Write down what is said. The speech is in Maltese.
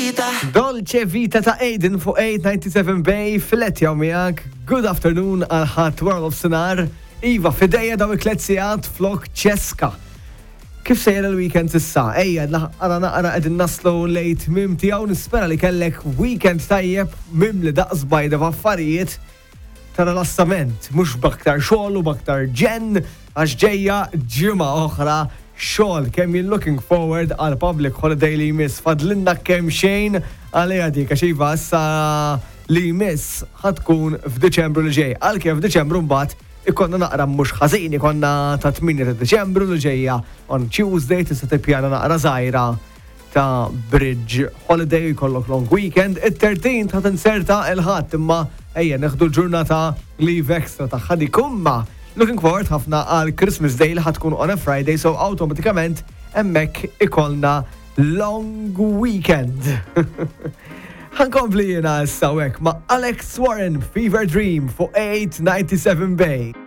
Vita. Dolce Vita ta' Aiden fuq 897 Bay filet jaw miegħek. Good afternoon għal ħadd wara nofsinhar. Iva, fidejja daw it-tliet sigħat flok ċeska. Kif sejjer il-weekend s'issa? Ejja, naqra naqra qegħdin naslu lejn tmiem tiegħu nispera li kellek weekend tajjeb mimli daqs bajda f'affarijiet ta' rilassament, mhux b'aktar xogħol u b'aktar ġenn għax ġejja ġimgħa oħra xogħol. Kemm jien looking forward għal public holiday li jmiss. Fadlinna kemm xejn għaliha dik għax iva issa li jmiss ħa tkun f'Diċembru li ġej. Għalkemm f'Diċembru mbagħad ikonna naqra mhux ħażin, ikonna ta' 8 ta' Diċembru li ġejja on Tuesday tista' tippjana naqra żgħira ta' bridge holiday jkollok long weekend. It-13 ta' tinserta il-ħadd imma ejja neħdu l-ġurnata leave extra tagħha dik imma looking forward ħafna għal Christmas Day li ħatkun on a Friday so awtomatikament hemmhekk ikollna long weekend. Ħankompli jiena issa hekk ma' Alex Warren Fever Dream fuq 897 Bay.